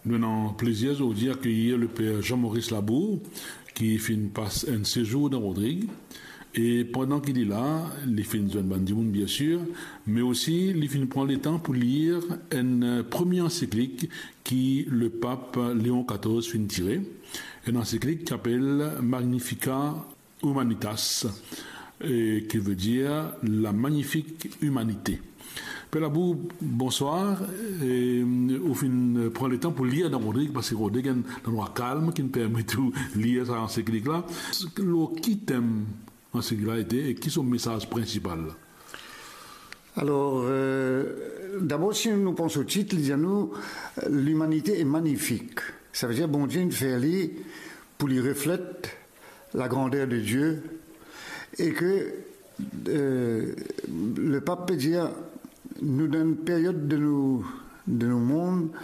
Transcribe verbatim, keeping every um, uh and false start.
Nou ena plezir zordi akeyir le per Jean-Maurice Labour, ki finn pas enn sezour dan Rodrig. E pandan ki li la, li finn zwenn bann dimoun, biensir, me osi li finn pran letan pou lir enn, eh, premie ansiklik ki le pap Leon katorz finn tire, enn ansiklik ki apel Magnifica Humanitas, eh, ki vedir la magnifik imanite. Per Labour, bonswar. E, ou finn pran letan pou lir dan Rodrig, parski Rodrig enn landrwa kalm ki permet ou lir sa ansiklik la. Lor ki tem ansiklik la ete e ki so mesaz prinsipal? Alor, eh, dabor, si nou pran so tit, li dir nou, eh, limanite e magnifik. Savedir Bondie inn fer li pou li reflet lagrander de Die, e ke, eh, le pap pe dir, nou dan enn period de nou, de nou mond,